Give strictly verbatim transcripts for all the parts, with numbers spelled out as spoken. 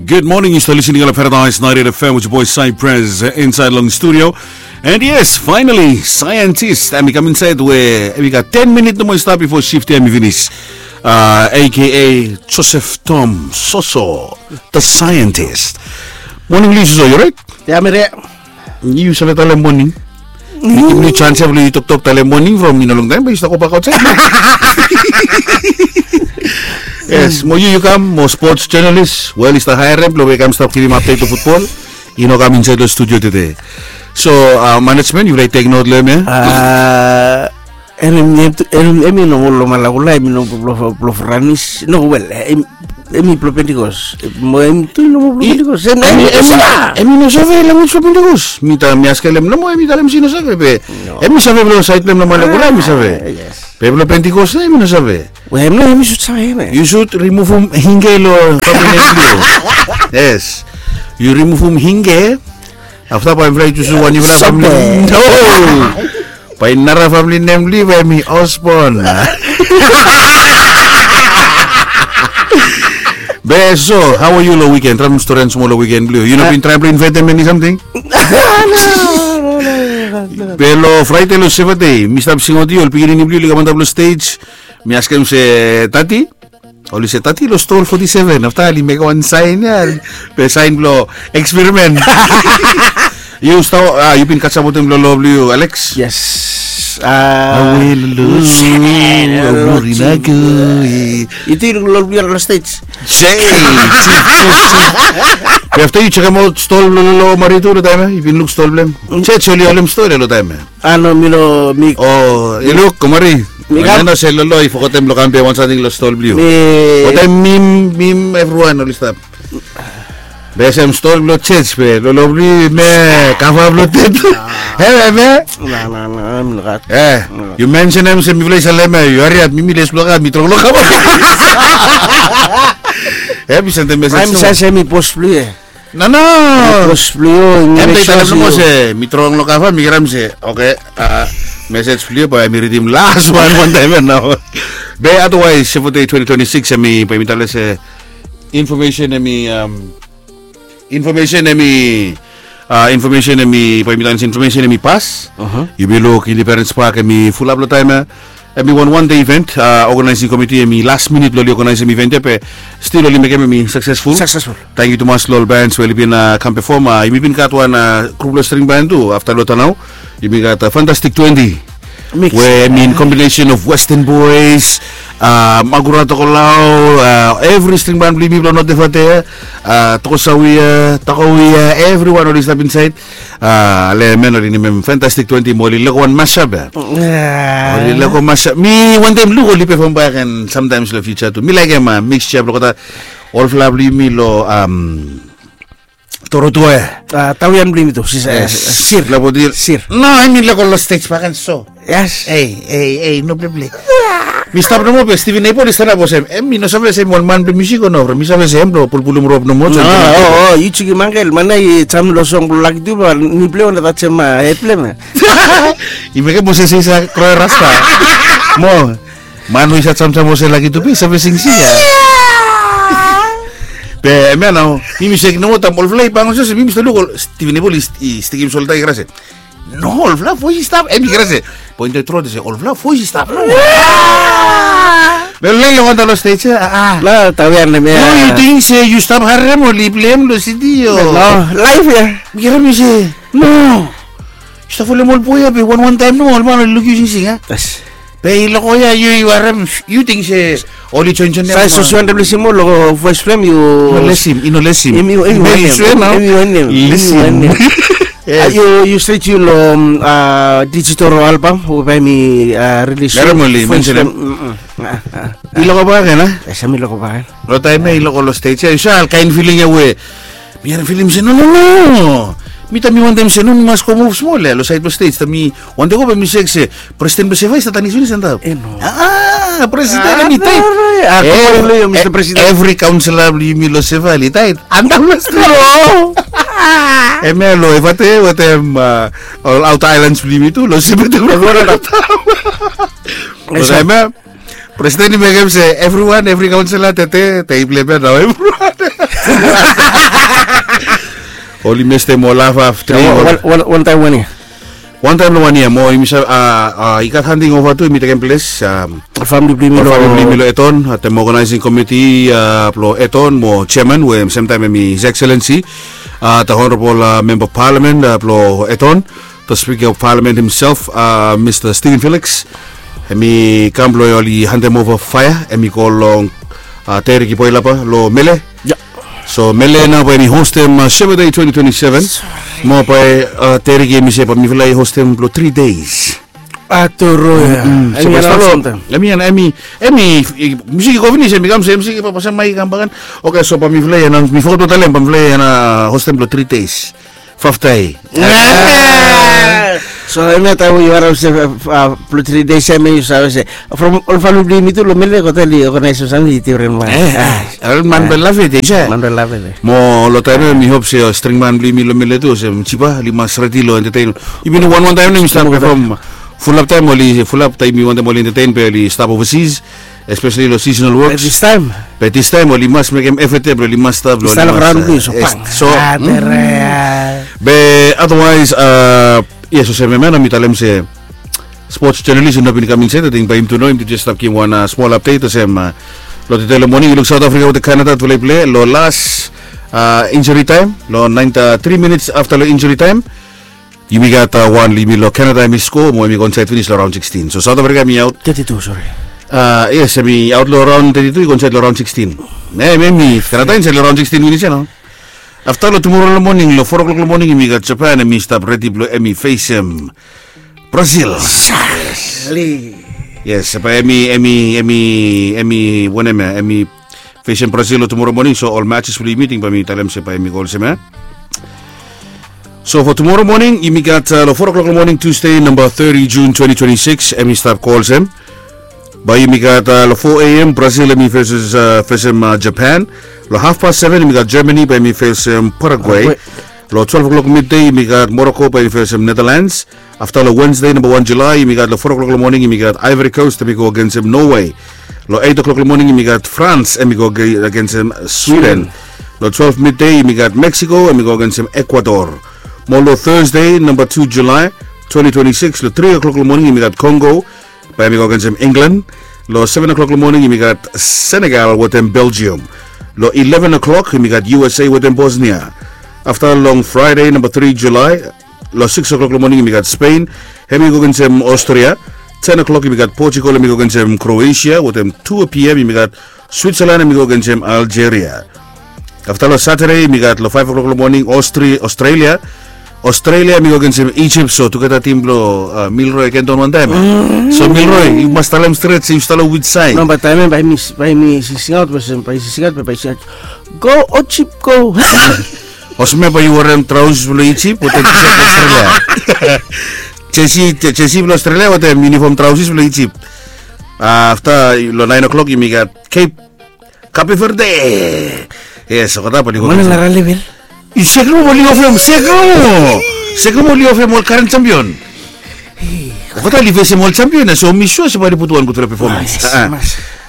Good morning, yu stap listening long Paradise ninety-eight F M with your boy Cypress, uh, inside long studio. And yes, finally, scientist, hemi kam insait we hemi gat ten minit nomo i stap bifo shift ia hemi finis. Uh, A K A Joseph Tom Soso, the scientist. Morning, Lee Soso, yu right? Ya, mi rait. Yu save talem moning. Yu givim mi chance ia blong yu toktok talem moning from, yu no, long taem bae yu stap go bak aotsaed. Yes, mo yu, yu kam mo sports journalist. Wel, yu stap haerem blong we i kam stap givim update long futbol. I no kam insaed long studio tede. So, uh, management, yufala i tek not long hem ia? Uh, Hemi, hemi, hemi, hemi nomo long Malakula, hemi nomo blong, blong Franis. No, wel, hemi, hemi blong Pentecost. Mo hemi tu i nomo blong Pentecost. Hemi, hemi, hemi no save language blong Pentecost. Mi ta, mi askem nomo, hemi talem se i no save be. Hemi save blong saed blong hem long Malakula, hemi save. Be blong Pentecost, hemi no save. Wel, hemi no, hemi should save, hemi. Yu should remove him hinge long family nem blong yu. Yes. Yu remove him hinge. Afta bae hemfala i tus wan yufala famili. No. Bae nara famili nem blong yu bae hemi Osborne. Be so, hao yu long wiken? Traem stori smol long wiken blong yu. Yu no bin traem blong invaetem eni samting? Be long Fraede long Sevate, mi stap singaot ol pikinini blong yu oli kam antap long stej. Mi askem se, "Tati?" Oli se, "Tati, long stol foti seven." Afta oli mekem wan saen ia, be saen blong experiment. Yu stap, ah, yu bin kasem wetem long lo blong yu, Alex? Yes. Ah, awe lolo, awe lolo, awe lolo. Yu tu yu luk lo blong yu long stej. Be afta yu sekemaot stol blong lolo Maritu long taem ia, yu bin luk stol blong hem. Jej oli holem stol ia long taem ia. Ah, no, mi no, mi. O, yu luk, kumari. Mi kam. Hemia nao se lolo i fogetem blong kam be wan samting long stol blong yu. Mi. Wetem mim, mim, evriwan oli stap. Be sem stol blong jej be lolo blong yu hemia kava blong tet. Hemia, hemia. No, no, no, mi no gat. Eh, yu mensenem se mifala i salem ia, yu hariap, mi, mi les blong kam, mi trong long kam. Eh, mi sendem mesej. Hemi save se hemi bos blong yu ia. No, no. Bos blong yu, hemi talem nomo se mi trong long kava, mi kirem se, okay, ah, mesej blong yu bae mi ridim las wan, wan taem ia nao. Be otherwise, Sevate twenty twenty-six, hemi, bae mi talem se information hemi, um, information hemi, ah, information hemi, bae mi talem se information hemi pas. Aha. Yumi luk Independence Park hemi fulap long taem ia. Hemi wan wan dei event, ah, organizing committee hemi last minute blong oli organizem event ia be still oli mekem hemi successful. Successful. Tangkiu tumas long ol bands we oli bin, ah, kam perform, ah, yumi bin gat wan, ah, grup blong string band tu afta long Tanau. Yumi gat, ah, Fantastic Twenty. Mix. We hemi in combination of Western Boys, ah, Magura Tokelau, ah, evri string band blong yumi blong North Efate, ah, Tokosawia, Tokowia, evriwan oli stap insaed. Ah, ale men oli nemem Fantastic Twenty mo oli lego wan mashup ia. Ah. Oli lego mashup. Mi wantem luk oli perform bak and sometimes long future tu. Mi laekem, ah, mixture blong olgeta, olfala blong yumi long, um, Torotua ia. Ah, tawian blong yumi tu, sis, eh, Sir. Sir. No, hemi lego long stej bak and so. Yes. Ei, ei, ei, no pleplei. Mi stap nomo be Steven Abel i stanap olsem, "Em, mi no save se hemi wan man blong musik o no, from mi save se hem blong pulpulum rop nomo." No, o, o, yu jekem angkel, man ia i jam long song blong Lucky Dube, mi plei wan dat sem, ah, hed blong hem ia. I mekem olsem se i sa kroa rasta. Mo, man we i sa jamjam olsem Lucky Dube i save singsing ia. Be hemia nao, mi, mi sek nomo taem olfala i bang olsem, mi, mi stap luk ol Steven Abel i, i stekem solda i krai se, "No, olfala voes i stap." Hemi krai se, poen tu tro se, "Olfala voes i stap." No. Be oli lae wan taem long stej ia, ah, ah. La, tawian hemia. No, yu ting se yu stap harem oli pleim long studio? No, live ia. Mi harem i se, "No. Yu stap folem ol boe ia be wan wan taem nomo ol man oli luk yu singsing ia." Yes. Be i lego ia yu, yu harem, yu ting se oli joen joen ia. Sa yu save lesim ol lo voes blong hem, yu. No lesim, i no lesim. Hemi, hemi wanem. Hemi wanem. Lesim. Hemi wanem. Yes. Ah, yu, yu stret yu lo, um, ah, digital album we bae mi, ah, release. Harem oli mensenem. Mm, mm. Ah, ah, ah. I lego bak ia, a? Yes, hemi lego bak ia. Long taem ia i lego long stej ia, yu save ol kaen filing ia we mi harem filing se, "No, no, no." Mi taem mi wantem se, "No, mi mas go move smol ia long saed blong stej." Taem mi wantem go be mi sek se presiden blong Seva i stap tanis finis antap. Eh, no. Ah, presiden hemi taet. Ah, eh, Mista Presiden. Evri kaonsela blong yumi long Seva oli taet antap long stej. Hemia long Evate wetem, ah, ol outer islands blong yumi tu long Seva. Long taem ia, presiden i mekem se evriwan, evri kaonsela, tete, tei blong hem ia nao evriwan. Oli mestem ol hafhaf tri. Wantaem wan yia. Wantaem long wan yia mo yumi save i gat handing ova tu, yumi tekem ples. Famili blong yumi long Eton, the organizing committee blong Eton mo chairman we semtaem hem i His Excellency the Honorable Member of Parliament blong Eton, the Speaker of Parliament himself, Mr Stephen Felix. Hem i kam blong oli handem ova faea, hem i go long Teriki Boilaba long Mele. So Mele nao bae hem i hostem Sheba Day twenty twenty-seven. Mo bae Teriki hem i se bae mifala i hostem blong three days. Aturu ya. Hem i, hem i, musik i go finis, hem i kam se musik i bae pasem mai i kam bakan. Oke, so bae mifala i anaons, mi foget blong talem, bae mifala i anaons hostem blong three days. Faftai. So hemia taem we yu harem se blong three days ya, hemia yu save se from ol famili blong yumi tu long Mele, go taem oli organise samting i difren wan. Ol man bae lave de se. Man bae lave de. Mo long taem ya mi hop se string man blong yumi long Mele tu olsem Jipa, oli mas redi long entertain. Yumi no wan wan taem nao yumi stap pefom. Fulap taem oli, fulap taem yumi wantem oli entertain be oli stap overseas, especially long seasonal works. Be distaem oli mas mekem effort ya blong oli mas stap long oli mas. So be otherwise, yes, olsem hemia nao mi talem se sports journalist i no bin kam insaed, ating bae yumi tu nao yumi tu jes stap givim wan smol update olsem long tede long moning, yu luk South Africa wetem Canada tufala i plei long las injury time, long naen, three minutes afta long injury time. Yumi gat wan, yumi long Canada hem i skoa mo hem i go insaed finis long raon sixteen. So South Africa hem i aot. Thirty-two, sorry. Yes, hem i aot long raon thirty-two, i go insaed long raon sixteen. Hem, hem i Canada insaed long raon sixteen finis ya nao. Afta long tumora long moning, long four o'clock long moning, yumi gat Japan, hem i stap redi blong hem i fesem Brazil. Yes, bae hem i, hem i, hem i, hem i wanem ya, hem i fesem Brazil long tumora moning, so ol matches blong yumi ting bae mi talem se bae hem i go olsem ya. So for tumora moning, yumi gat long four o'clock long moning, Tuesday, namba thirty June twenty twenty-six, hem i stap go olsem. Bae yumi gat long four a.m. Brazil hem i fesem, fesem Japan. Long hafpas seven yumi gat Germany bae hem i fesem Paraguay. Long twelve o'clock midday yumi gat Morocco bae hem i fesem Netherlands. Afta long Wednesday, namba wan July, yumi gat long four o'clock long moning, yumi gat Ivory Coast hem i go agensem Norway. Long eight o'clock long moning yumi gat France hem i go agensem Sweden. Long twelve midday yumi gat Mexico hem i go agensem Ecuador. Mo long Thursday, namba two July twenty twenty-six, long three o'clock long moning yumi gat Congo bae hem i go agensem England. Long seven o'clock long moning yumi gat Senegal wetem Belgium. Long eleven o'clock yumi gat U S A wetem Bosnia. Afta long Friday, namba three July, long six o'clock long moning yumi gat Spain hem i go agensem Austria. Ten o'clock yumi gat Portugal hem i go agensem Croatia, wetem two p.m. yumi gat Switzerland hem i go agensem Algeria. Afta long Saturday yumi gat long five o'clock long moning Australia. Australia hem i go agensem Egypt, so tugeta tim blong Milroy i ken don wantaem. So Milroy, yu mas talem stret se yu stap long which side. No, bae taem ya bae mi, bae mi singaot, bae mi singaot, bae mi singaot. Go Egypt, go. Olsem ya bae yu werem traosis blong Egypt wetem tisat blong Australia. Jesi, jesi blong Australia wetem yunifom traosis blong Egypt. Afta long nine o'clock yumi gat Cape, Cape Verde. Yes, olgeta bae oli go. Mana nara level? Sekum oli ofem, Sekum. Sekum oli ofem ol karen champion. Olgeta oli fesem ol champion ya, so mi sua se bae oli putum wan gudfala performance.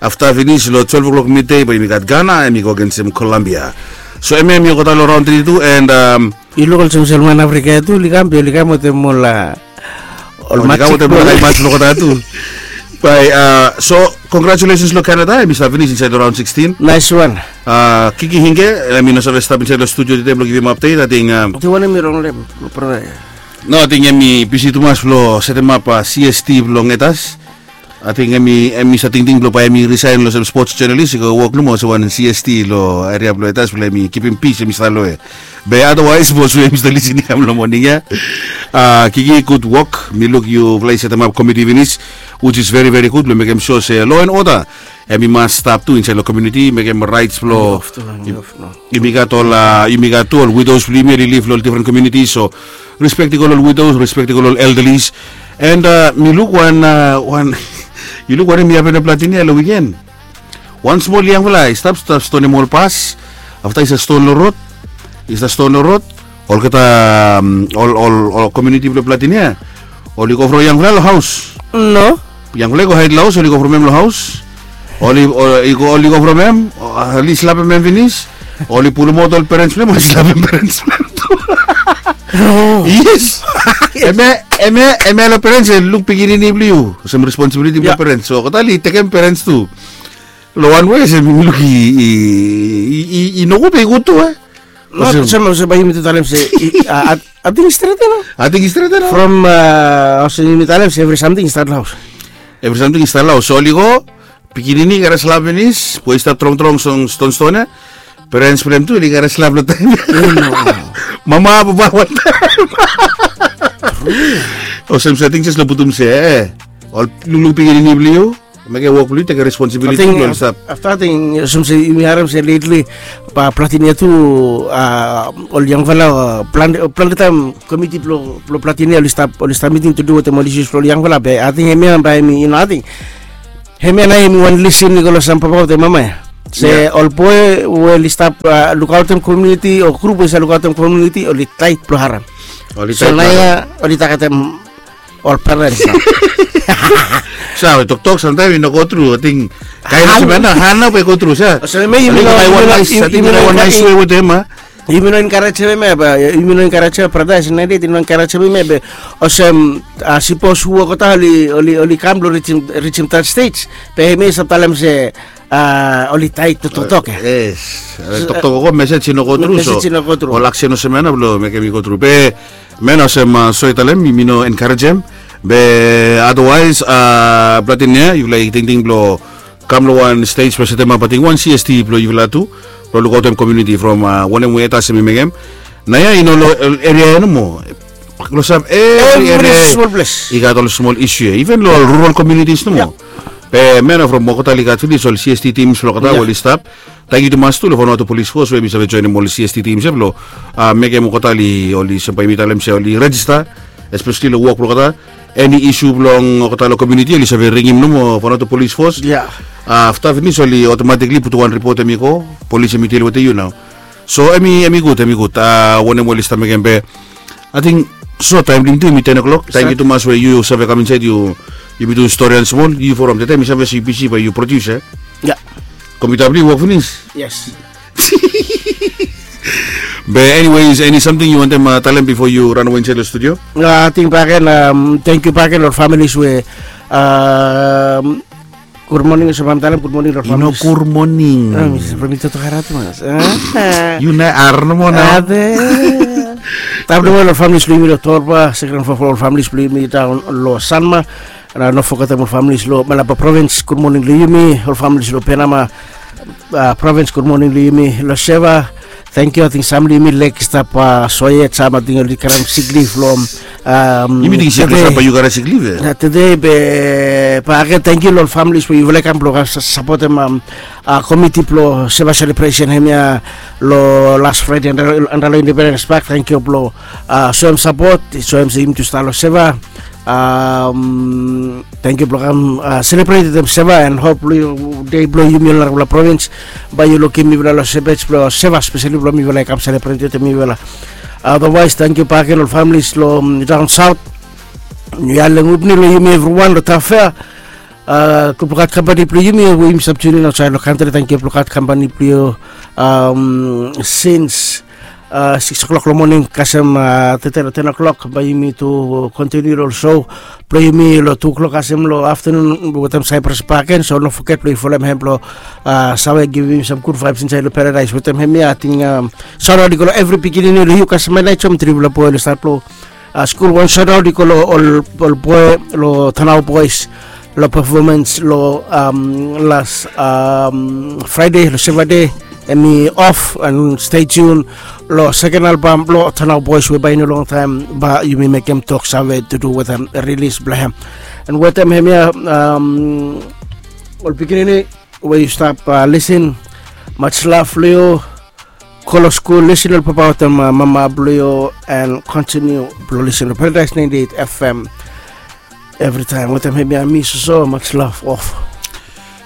Afta finis long twelve o'clock midday bae yumi gat Ghana hem i go agensem Colombia. So hemia hem i olgeta long raon thirty-two and yu luk olsem sel man Afrika ya tu oli kam, be oli kam wetem ol, ol match blong olgeta tu. Bae, so congratulations long Canada, hem i stap finis insaed long raon sixteen. Nice one. Kiki Hinge hem i no save stap insaed long studio tede blong givim update, ating. Yu wantem mi rong long hem, brata? No, ating hem i bisi tumas blong setemap C S T blong Etas. Ating hem i, hem i save tingting blong bae hem i resign long olsem sports journalist, i go wok nomo olsem wan C S T long eria blong Etas blong hem i kipim pis, hem i stap long we. Be otherwise bos we yumi stap lisin i kam long moning ya, Kiki, gud wok. Mi luk yufala i setemap komiti finis, which is very, very good, blong mekem sua se law and order hem i mas stap tu insaed long komuniti, mekem raets blong yumi gat ol, yumi gat tu ol widows blong yumi oli liv long ol difren komuniti, so respektim ol widows, respektim ol elderlies. And mi luk wan, wan, yu luk wanem i hapen long Platini ya long wiken? Wan smol yangfala i stap, stap stonem ol bas. Afta i stap ston long rod, i stap ston long rod. Olgeta, ol, ol, ol komuniti blong Platini ya oli go from yangfala long haos. No. Yangfala i go haed long haos, oli go from hem long haos. Oli, oli go, oli go from hem, oli slapem hem finis. Oli pulumaot ol perens blong hem, oli slapem perens blong hem tu. Yes. Hemia, hemia, hemia long perens, e luk pikinini blong yu olsem responsibiliti blong perens. So olgeta oli tekem perens tu. Long wan wei olsem yumi luk i, i, i, i nogud be i gud tu, e? Not olsem, olsem bae yumi tu talem se, i, i, a, a, ating i stret, no? Ating i stret, no? From, a, olsem yumi talem se evri samting i stat long haos. Evri samting i stat long haos. So oli go, pikinini i kare slap finis, boi i stap trongtrong, ston, stonston ya. Perens blong hem tu oli kare slap long taem ya. Mama, papa, wantaem. Olsem se ating jes long putum se, e, ol lukluk pikinini blong yu, mekem wok blong yu, tekem responsibiliti blong ol stap. Afta ating olsem se yumi harem se letli, ba Platinia tu, a, ol yangfala, a, plante, plante taem komiti blong, blong Platinia oli stap, oli stap miting tu du wetem ol isius blong ol yangfala, be ating hemia bae yumi, yu no, ating hemia nao hemi wan lesin i go long sam papa wetem mama ya. Se ol boi we oli stap, a, lukaotem komuniti o grup we i save lukaotem komuniti, oli taet blong harem. Oli taet blong harem. So naoia oli tagetem ol perens nao. Sa we toktok samtaem i no go tru, ating kaen olsem ya nao, hao nao bae i go tru, sa. Olsem hemia yumi no, yumi no, yumi no enkarejem hemia, ba yumi no enkarejem hemia, brata, ese nao i no enkarejem hemia, be olsem, a, sipos hu olgeta oli, oli, oli kam blong rijim, rijim that stage, be hemia i save talem se, a, oli taet long toktok ya. Yes. Toktok o go, mesej i no go tru, so mesej i no go tru. Ol aksen olsem ya nao blong mekem i go tru. Be hemia nao olsem, a, so i talem, mi, mi no enkarejem. Be otherwise, a, Platinia, yufala i tingting blong kam long wan stej we setemap ating wan C S T blong yufala tu, blong lukaotem komuniti from, a, wanem we Eta hemi mekem. Naoia i no long, e, eria ya nomo. Klosap evri eria i gat ol smol isu ya, iven long ol rural communities nomo. Be hemia nao from olgeta oli gat finis ol C S T teams blong olgeta we oli stap. Tangkiu tumas tu long Vanuatu Police Force we hemi save joenem ol C S T teams ya blong, a, mekem olgeta oli, oli, olsem bae yumi talem se oli rejista, espeseli long wok blong olgeta. Eni isu blong olgeta long komuniti oli save ringim nomo Vanuatu Police Force. Afta finis oli otomatikli putum wan ripot, hemi go, polis hemi dil wetem yu nao. So hemi, hemi gud, hemi gud. A, wanem we oli stap mekem, be ating so taem blong yumi tu hemi ten o'clock. Tangkiu tumas we yu save kam insaed, yu, yumi tu storian smol, yu from tede mi save se yu bisi bae yu produs, e? Kompyuta blong yu wok finis? Yes. Be anyways, eni samting yu wantem, a, talem bifo yu ran we insaed long studio? A, ating bakegen, am, tangkiu bakegen long ol familis we, am, gud moning, olsem bae mi talem gud moning long ol familis. I no gud moning. From mi toktok hara tumas. Yu nao hara nomo nao. Taem nomo long familis blong yumi long Torba, seken fo, fo ol familis blong yumi daon long Sanma. Nao no fogetem ol familis long Manaba Provins, gud moning long yumi. Ol familis long Penama, a, Provins, gud moning long yumi. Long Seva, tangkiu. Ating sam long yumi leg i stap, a, soe yet, sam ating oli karem siklif long, am, yumi ting siklif, tede. Bae yu karem siklif, e? Tede, be bakegen tangkiu long ol familis we yufala i kam blong sa-, sapotem, am, a, komiti blong Seva selebresen hemia long las Fraede anda, anda long Independens Pak. Tangkiu blong, a, soem sapot, soem se yumi tu stap long Seva. Am, tangkiu blong kam, a, selebret wetem Seva, and hopefully dei blong yumi ol narafala provins bae yu lukim mifala long Seva, long Seva speseli blong mifala i kam selebret wetem mifala. Otherwise, tangkiu bakegen ol familis long, am, daon saot. Niu yalem gud moning long yumi evriwan long Tafea. A, gud blong gat kampani blong yumi we yumi stap tiunin aotsaed long kantri, tangkiu blong gat kampani blong yu, am, sins, a, sikis o'klok long moning kasem, a, tede long ten o'klok, bae yumi tu kontiniu long ol so blong yumi long tu o'klok kasem long aftenun wetem Cyprus bakegen. So no foget blong yu folem hem blong, a, save givim yumi sam gud vaebs insaed long Paradise wetem hemia. Ating, am, saotaot i go long evri pikinini long yu kasem, Mailai Jom, trifala boi long stat blong, a, skul. Wan saotaot i go long ol, ol boi long Tanao Boys long pefomens long, am, las, am, Fraede long Seva Dei. Hemi of, and stay tuned long seken albam blong Tanao Boys we bae i no longtaem bae yumi mekem toksave tu du wetem rilis blong hem. And wetem hemia, am, ol pikinini we yu stap, a, lisin, much love long yu. Go long skul, lisin long papa wetem, a, mama blong yu, and kontiniu blong lisin long Paradise ninety-eight F M. Evritaem wetem hemia mi soso, much love, off.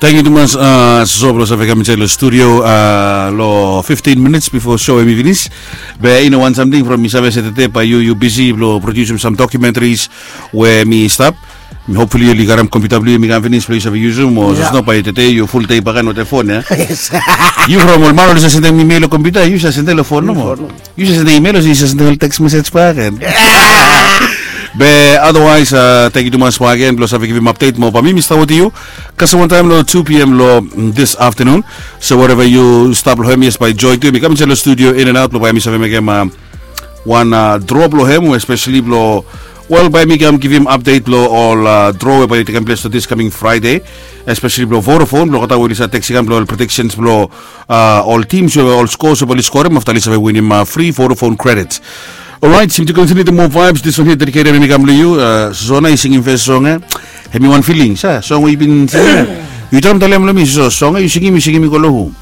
Tangkiu tumas, a, soso, blong save kam insaed long studio, a, long fifteen minits bifo so hemi finis. Be i no wan samting from mi save se tede bae yu, yu bisi blong produsim sam documentaries we hemi stap. Hopefully oli karem kompiuta blong yu, mi kam finis blong yu save yusum, o sosno bae tede yu fuldei bak gen wetem fon ya. Yu from ol man oli save sendem imel long kompiuta, yu save sendem long fon nomo. Yu save sendem imel o yu save sendem ol teks mesej bak gen. Be otherwise, tangkiu tumas bak gen blong save givim apdet mo bae mi mi stap wetem yu kasem wantaem long tu pm long this afternoon. So wherever yu stap long hem, yes, bae joe tu mi kam insaed long studio in and out blong bae mi save mekem wan dro blong hem, especially blong, wel, bae mi kam givim apdet blong ol dro we bae i tekem ples long this coming Friday, especially blong Vodafone, blong olgeta we oli save tekstem blong ol predictions blong ol teams we ol scores we bae oli skorem afta oli save winim free Vodafone credits. Alright, seem to continue the more vibes. This one here dedicated mi kam long yu. Sosona, yu singim fes song ya. Hemi wan feeling sa song we yu bin singim ya. Yu traem talem long mi, so song ya yu singim, yu singim i go long hu?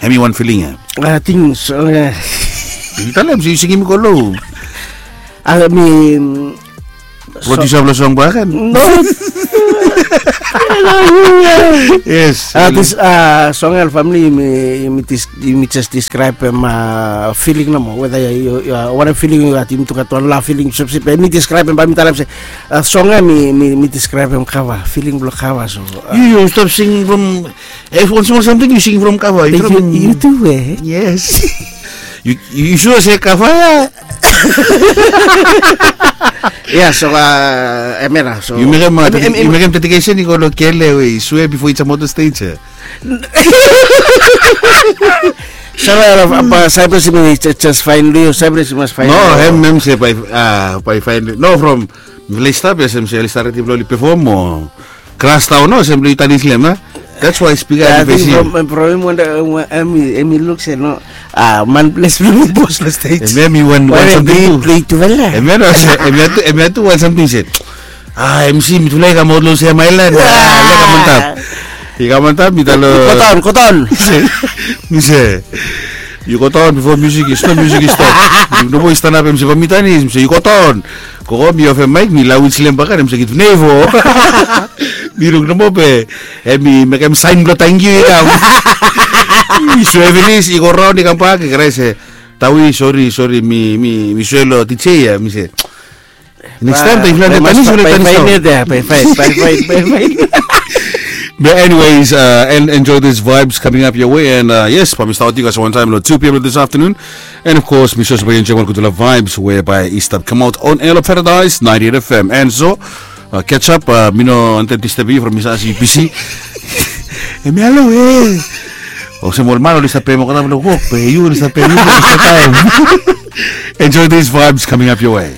Hemi wan feeling ya. Ating song ya. Yu talem se yu singim i go long hu? Ami produsa blong song bak gen. No. Yes. Song ya, famili, yumi jes deskraebem feeling nomo, weda wanem feeling yu gat, yumi tu gat wan love feeling, sepsep yumi deskraebem, bae mi talem se song ya mi deskraebem kava, feeling blong kava. So yu stap singim from, ef wan smol samting yu singim from kava, yu tu e. Yes. Yu sua se kava ya? Ya, so hemia nao, so yu mekem dedikesen i go long kele we i swe bifo i jamaot long stej ya. Sala, Cyprus, yumi jes faen long yu, Cyprus, yu mas faen. No, hem, hem se bae faen long yu. No, from mifala i stap ya, se hem se oli stap redi blong oli pefom o kras daon, no, se hem blong yu tanis long hem a. That's why spika i fesim. From hem, from hem, hem i luk se no, man ples blong mi bos long stej. Hem ya mi wan samting tu. Hem ya no, se hem ya tu wan samting se, a, MC, mitufala i kamaot long olsem aelan. I kam antap, i kam antap, mi tale, go daon, go daon. Mi se, yu go daon bifo musik i stop, musik i stop. Yu nomo i stanap, hem se bae mi tanis, mi se yu go daon. Gogo, mi ofem maek, mi laois long hem bakegen, hem se givnem fo. Mi luk nomo be hem i mekem saen blong tangkiu i kam. Mi swe finis, i go raon i kambak, i krae se, Tawi, sori, sori, mi swe long DJ ya, mi se, nekis taem taem yufala tanis, yufala tanis nao. But anyways, and enjoy these vibes coming up your way. And yes, bae mi stap wetem yu kasem wantaem long two pm this afternoon. And of course, mi sua se bae yu enjoem ol gudfala vibes we bae i stap kamaot on air long Paradise ninety-eight FM. And so, catch up, mi no wantem disturb yu from mi save se yu bisi. Hemia lo e. Olsem ol man oli stap pem olgeta blong wok, be yu oli stap pem yu blong olsem taem. Enjoy these vibes coming up your way.